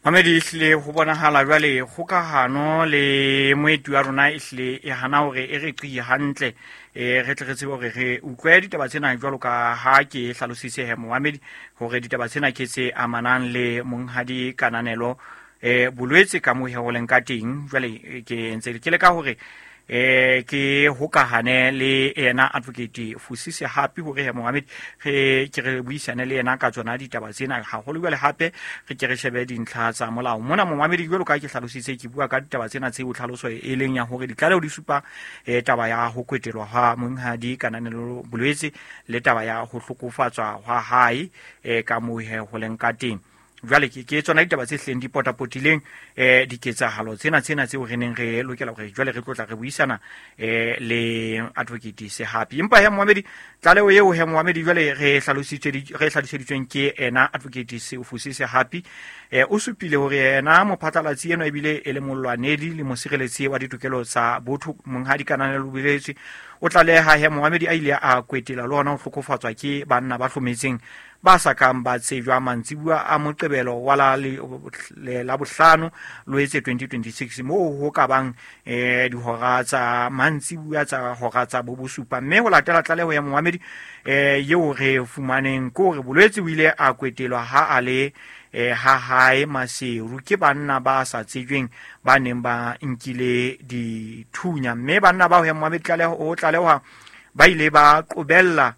Mamedi, ehlile ho bonahala jwale kgokahano le moeti wa rona ehlile e hana hore e re qi hantle, re tle re tsebe hore re utlwe ditaba tsena jwalo ka ha ke hlalositse he momamedi hore ditaba tsena ke tse amanang le monghadi Kananelo bolwetse ka moo he ho leng ka teng. Jwale ke ntse ke leka hore ke hokahane le yena Advocate Fusi Sehapi hore he momamedi re ke re buisane le yena ka tsona ditaba tsena haholo. Jwale hape re ke re shebe dintlha tsa molao mona momamedi, jwalo ka ke hlalositse, ke bua ka ditaba tsena tseo tlhaloso e leng ya hore ditlaleho di supa taba ya ho kwetelwa hwa monghadi Kananelo bolwetse le taba ya ho hlokofatswa hwa hae ka moo he ho leng ka teng. Jwale ke tsona ditaba tse hleng di potapotileng diketsahalo tsena tseo re neng re lokela hore jwale re tlotla re buisana le Advocate Sehapi. Empa he momamedi, tlaleho eo he momamedi jwale re hlaloseditsweng ke ena Advocate Fusi Sehapi, o supile hore yena mophatlalatsi eno ebile e le molwanedi le mosireletsi wa ditokelo tsa botho monghadi Kananelo Bolwetse o tlaleha he momamedi a ile a kwetela le hona ho hlokofatswa ke banna ba hlometseng ba sa kang ba tsejwa mantsibuya a Moqebelo wa la bohlano Loetse 2026 moo ho ka bang dihora tsa mantsibuya tsa hora tsa bobosupa. Mme ho latela tlaleho ya momamedi eo re fumaneng ke hore bolwetse o ile a kwetelwa ha a le ha hae Maseru ke banna ba sa tsejweng ba neng ba nkile dithunya. Mme banna bao he momamedi tlaleho o tlaleha ba ile ba qobella